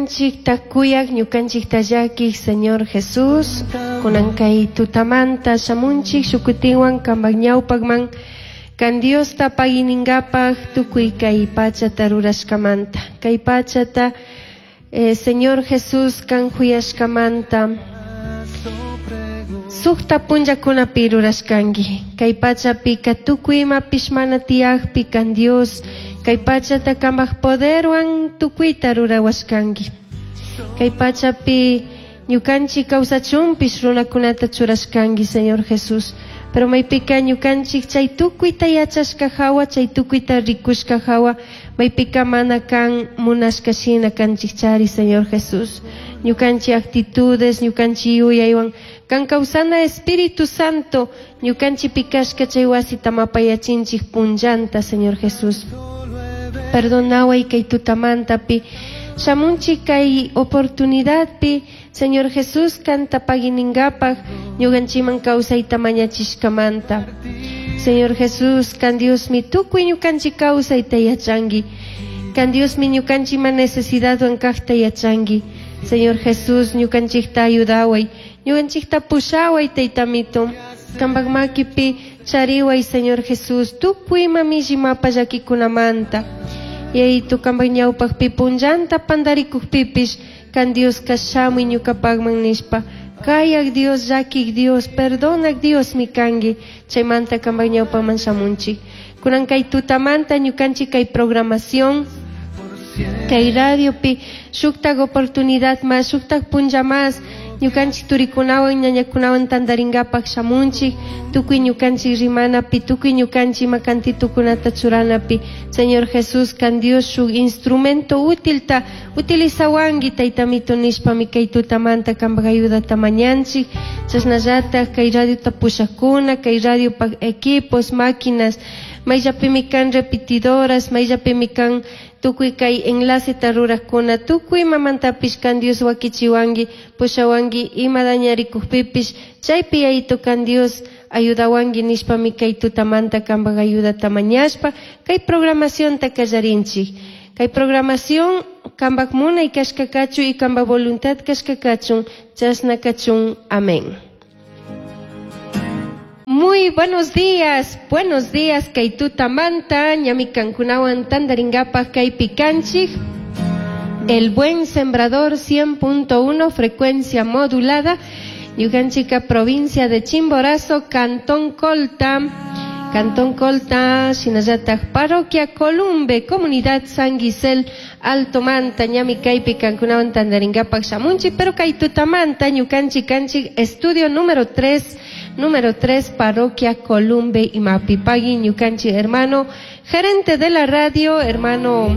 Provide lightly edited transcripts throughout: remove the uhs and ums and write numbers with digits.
Ñukanchikta kuyaq, ñukanchikta llakiq Señor Jesús, kunan kay tutamanta shamunchik shukutinwan kambak ñawpakman, kan Diosta paginingapaj tukuy kay pachata rurashkamanta. Kay pachata eh, Señor Jesús kan juyashkamanta sukta punllakunapi rurashkanki. Kay pachapika tukuy imapish mana tiyakpi kan Dios kay pachata kambak poderwan tukuyta rurawashkanki. Kay pachapi ñukanchik kawsachunpish runakunata churashkanki, Señor Jesús. Pero maypika ñukanchik chay tukuyta yachashka hawa, chay tukuyta rikushka hawa, maypika mana kan munashka shina kanchikchari, Señor Jesús. Ñukanchik actitudes, ñukanchik yuyaywan, kan kawsana Espíritu Santo, ñukanchikpi kashka chay wasita mapayachinchik punllanta, Señor Jesús. Perdonaway kay tutamantapi, shamunchik kay oportunidadpi, Señor Jesús kanta paginingapaj, ñukanchikman kawsayta mañachishkamanta. Señor Jesús, kan Diosmi tukuy ñukanchik kawsayta yachanki. Kan Diosmi ñukanchikman necesidadwan kajta yachanki. Señor Jesús, ñukanchikta ayudaway. Ñukanchikta pushaway, Taytamito. Kampak makipi chariway, Señor Jesús, tukuy ima milli mapa llakikunamanta. Yayitu kampak ñawpakpi punllanta pandarikukpipish, kan Dioska shamuy ñukapakman nishpa. Kayak Dios, llakik Dios, perdonak Diosmi kanki. Chaymanta kampak ñawpaman shamunchik. Kunan kay tutamanta ñukanchik kay programación, kay radiopi shuktak oportunidad mas, shuktak punlla mas, ñukanchik turikunawan, ñañakunawan tantarinkapak shamunchik, tukuy ñukanchik rimanapi, tukuy ñukanchik ima kantitukunata churanapi. Señor Jesús, kan Dios shuk instrumento útilta utilizawanki, Taytamito nishpami kay tutamanta kampak ayudata mañanchik. Chasnallatak kay radiota pushakuna, kay radiopak equipos, máquinas, mayllapimi kan repetidoras, mayllapimi kan tukuy kay enlaceta rurakuna, tukuy imamantapish kan Dios wakichiwanki, pushawanki, ima dañarikukpipish, chaypi Yayitu kan Dios ayudawanki nishpami kay tutamanta kampak ayudata mañashpa, kay programacionta kallarinchik. Kay programación kampak munay kashka kachun y kampak voluntad kashka kachun, chashna kachun. Amén. Muy buenos días, kay tutamanta, ñami kankunawan tandaringapak kaypi kanchik. El Buen Sembrador 100.1, frecuencia modulada, Ñukanchika, provincia de Chimborazo, Cantón Colta, Cantón Colta, shinallatak Parroquia Columbe, Comunidad San Gisel, Alto Manta, ñami kaypi kankunawan tandaringapak shamunchik, pero kay tutamanta ñukanchik kanchik estudio número 3, número 3, Parroquia Columbe, imapi pagui ñukanchik hermano, gerente de la radio, hermano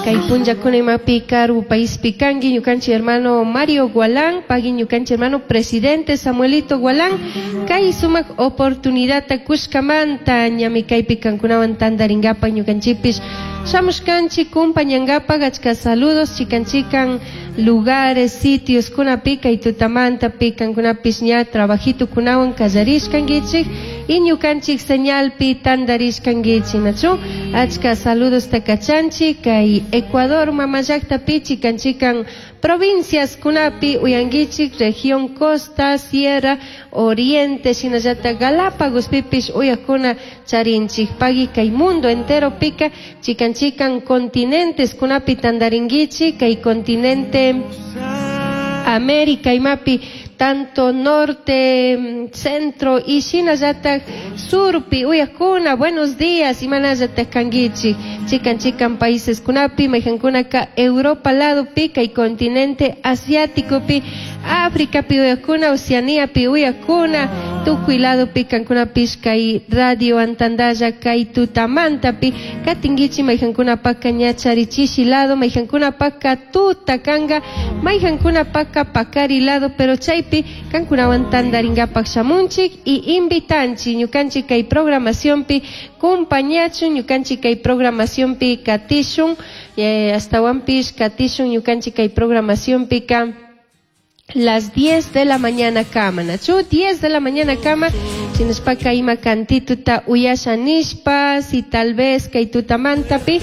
kay punllakuna imapi karu paispi kanki, ñukanchik hermano Mario Gualán, pagui ñukanchik hermano presidente Samuelito Gualán, kay sumak oportunidadta kushkamanta, ñami kaypi kankunawan tandaringapak ñukanchikpish shamushkanchik kumpañangapak. Achka saludos chikan chikan lugares, sitios kunapi kay tutamanta pi kankunapish ña trabajito kunawan kallarishkankichik y ñukanchik señalpi tandarishkankichik, nachu? Achka saludos kachanchik kay Ecuador mama llaktapi chikan chikan provincias kunapi uyankichik, región Costa, Sierra, Oriente, shinallatak Galápagos pipish uyakuna charinchik. Pagui kay mundo entero pika chikan chikan continentes kunapi tandarinkichik, kay continente América imapi tanto norte, centro y shinallatak surpi uyakuna, buenos días, imanallatak kankichik, chikan chikan países kunapi, mayqankunaka Europa lado pi, kay continente asiático pi, África pi uyakuna, Oceanía pi uyakuna, tukuy lado pi kankunapish kay radio antandalla kay tutamanta pi katinkichik, mayqankunapaka ña charichishi lado, mayqankunapaka tuta kanga, mayqankunapaka pakari lado, pero chaypi kankunawan tandaringapak shamunchik y invitanchik ñukanchik kay programacionpi kumpañachun, ñukanchik kay programacionpi katishun, astawanpish katishun ñukanchik kay programacionpika las 10 de la mañana kama, nachu? 10 de la mañana kama, shinashpaka ima kantituta uyasha nishpa, si tal vez kay tutamantapi.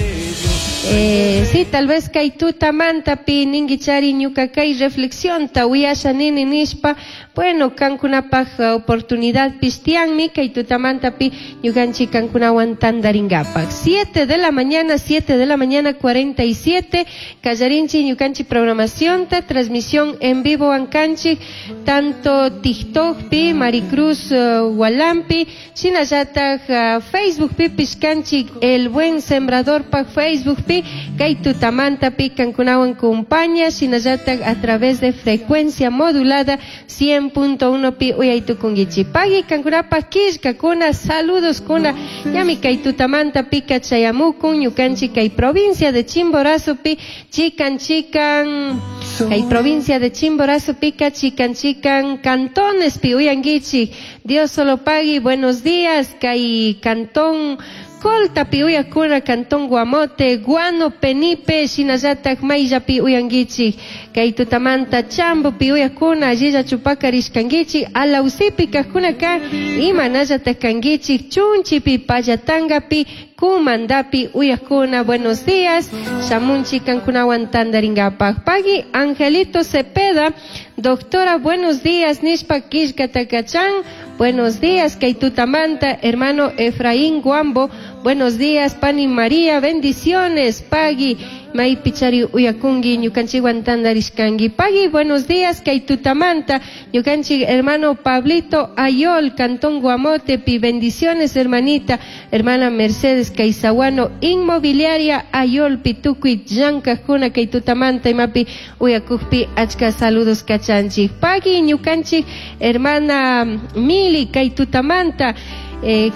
Sí, tal vez kay tutamantapi ninguichari ñuka kay reflexión ta uyasha nini nishpa, bueno, kankunapaj oportunidad pistianmi kay tutamantapi ñukanchik kankunawan tandaringapak. 7 de la mañana, 7 de la mañana 47, kallarinchik ñukanchik programación ta, transmisión en vivo ankanchik, tanto TikTok pi, Maricruz Walampi, shinallataj Facebook pi pishkanchik El Buen Sembrador pa Facebook pi, kay tutamantapi kankunawan kumpaña, shinallataj a través de frecuencia modulada 100.1 pi uyaytukunkichik. Pagui kankunapaj killkakuna, saludos kuna, ñami kay tutamanta pika chayamukun, ñukanchik kay provincia de Chimborazo pi, chikan chikan, kay provincia de Chimborazo pika, chikan chikan, cantones pi uyankichik. Dios solo pagui, buenos días, kay cantón Colta pi uyakuna, cantón Guamote, Guano, Penipe, shinallatak mayllapi uyankichik. Kay tutamanta Chambo pi uyakuna, allilla chupakarishkankichik, Alausipi kajkunaka, imanallatak kankichik, Chunchipi, Payatangapi, Kumandapi uyakuna, buenos días, shamunchik kankunawan tandaringapak. Pagui Angelito Cepeda, doctora, buenos días, nishpa killkatakachan, buenos días, kay tutamanta, hermano Efraín Guambo, buenos días, Pani María, bendiciones, Pagui, maypichari uyakungi, ñukanchikwan tandarishkanki. Pagui, buenos días, kay tutamanta, ñukanchik hermano Pablito Ayol, Cantón Guamote, pi bendiciones, hermanita, hermana Mercedes Caizahuano, Inmobiliaria Ayol, pitukuy, llankajkuna, kay tutamanta, imapi uyakukpi, achka saludos kachanchik. Pagui, ñukanchik, hermana Mili, kay tutamanta,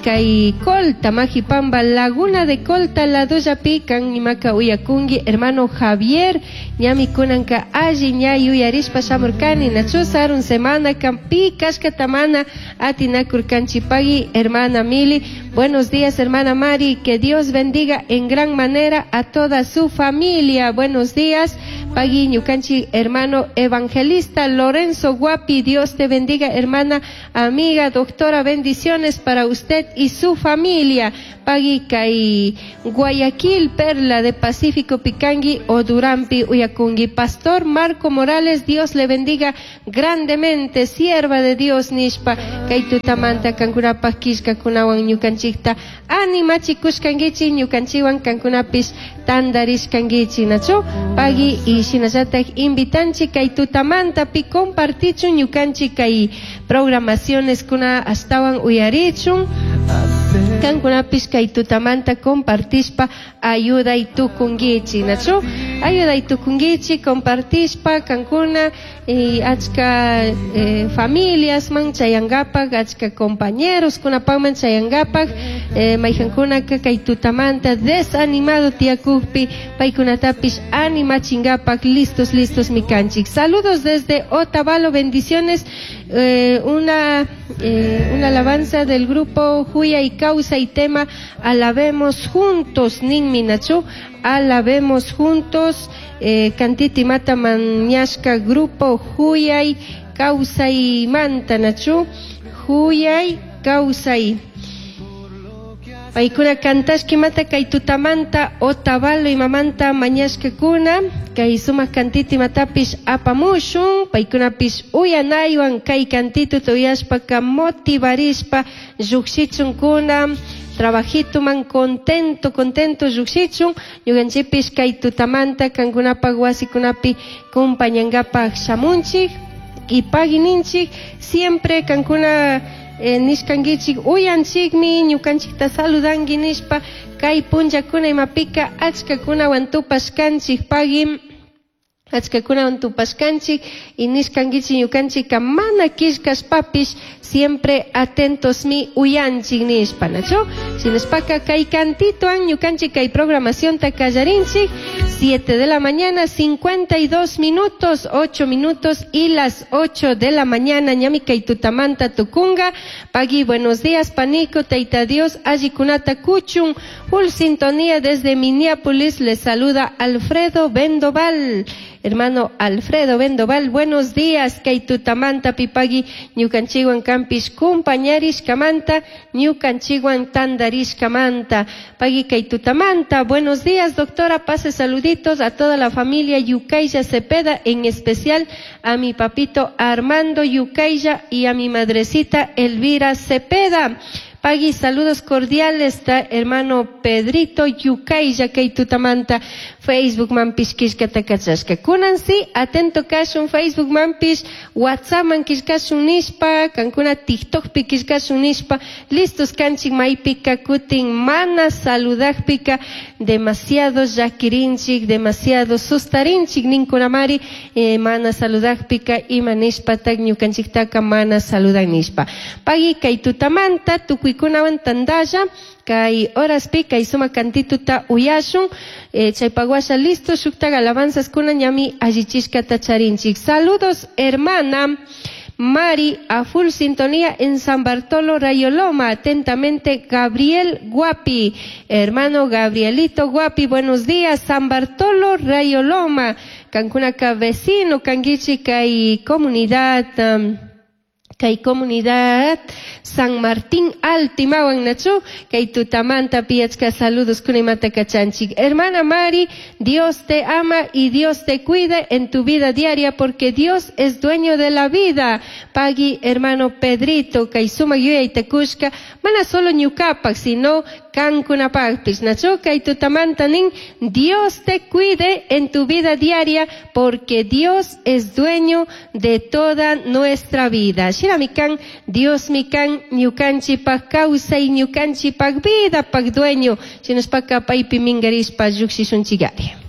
kay Colta, Majipamba, Laguna de Colta, la Doya Pican, imaka uyakungi, hermano Javier, ñami kunanka alli ña yuyarishpa shamurkani, nachu sarun semana, kampi, kashkatamana, atinakurkanchipagui, hermana Mili, buenos días, hermana Mari, que Dios bendiga en gran manera a toda su familia, buenos días, pagui, ñukanchi, hermano evangelista Lorenzo Guapi, Dios te bendiga, hermana, amiga, doctora, bendiciones para usted y su familia, pagui, kay Guayaquil, Perla de Pacífico, Picangui o Durampi, Uyakungi, Pastor Marco Morales, Dios le bendiga grandemente, sierva de Dios, nishpa, kay tutamanta, kankunapaj killka kunawan ñukanchikta, animachikushkankichik, ñukanchikwan kankunapis tandarishkankichik, nachu, pagui y shinallatak invitanchik kay tutamanta pi compartichun ñukanchik kay programaciones kuna astawan uyarichun, kankunapis kay tutamanta compartishpa ayuday tukunkichik, nachu, ayuday tukunkichik, compartishpa kankuna y achka familias man chayangapak, achka compañeros kunapakman chayangapak, mayjankunaka kay tutamanta desanimado tiyakukpi paykunatapis animachingapak, listos, listos mikanchik. Saludos desde Otavalo, bendiciones, una alabanza del grupo Juya y Causa y tema Alabemos Juntos, Ninmi Nachu, Alabemos Juntos, Cantiti Mata Mañashka, grupo Juyay, Causa y Manta Nachu, Juyay, Causa y Paykuna kantashki mata kay tutamanta Otavalo imamanta mañashkakuna kay sumak kantiti matapish apamushun paykunapish uyanaywan kay kantituta uyashpaka motivarishpa llukshichunkuna trabajituman contento, contento llukshichun ñukanchikpish kay tutamanta kankunapak wasikunapi kumpañankapak shamunchik y pagininchik siempre kankuna nishkankichik uyanchikmi ñukanchikta saludanki nishpa kay punllakuna imapika achkakunawan tupashkanchik pagui achkakunawan tupashkanchik y nishkankichik ñukanchikka mana killkashpapish siempre atentos mi uyanchik nishpa nachu shinashpaka kay kantituan ñukanchik kay programacionta kallarinchik 7 de la mañana 52 minutos 8 minutos y las 8 de la mañana ñami kay tutamanta tukunga pagui buenos días panico taita Dios allikunata kuchun full sintonía desde Minneapolis les saluda Alfredo Vendoval. Hermano Alfredo Vendoval, buenos días. Kay tutamanta pipagui ñukanchikwan kanpish kumpañarishkamanta, ñukanchikwan tandarishkamanta. Pagui kay tutamanta. Buenos días, doctora. Pase saluditos a toda la familia Yucaya Cepeda, en especial a mi papito Armando Yucaya y a mi madrecita Elvira Cepeda. Pagui, saludos cordiales, ta hermano Pedrito Yucaya kay tutamanta Facebook manpish killkata kachashka. Kunan si, atento kashun Facebook manpish, WhatsApp man killkashun nishpa, kankuna TikTokpi killkashun nishpa, listos kanchik maypika kutin mana saludakpika demasiado llakirinchik, demasiado sustarinchik ninkunamari, mana saludakpika ima nishpatak ñukanchiktaka mana saludan nishpa. Pagui kay tutamanta tukuykunawan tandalla, kay horaspi kay sumak cantituta uyashun, chaypaguasha listo shuktak alabanzas kuna ñami allichishkata charinchik. Saludos hermana Mari a full sintonía en San Bartolo Rayoloma. Atentamente Gabriel Guapi, hermano Gabrielito Guapi, buenos días, San Bartolo Rayoloma, Cancunaka vecino, Canguichi, kay comunidad, kay comunidad San Martín Altimawan nachu, kay tutamanta piachka saludos kunimata kachanchik. Hermana Mari, Dios te ama y Dios te cuide en tu vida diaria porque Dios es dueño de la vida. Pagui, hermano Pedrito, kay suma yuyay tekushka, mana solo ñukapak, sino kankunapakpis. Nachu, kay tutamanta nin, Dios te cuide en tu vida diaria porque Dios es dueño de toda nuestra vida. Shiramikan, Dios mikan, ñukanchipak kawsay, ñukanchipak vida pak dueño. Shinashpaka paypi minkarishpa llukshishunchikari.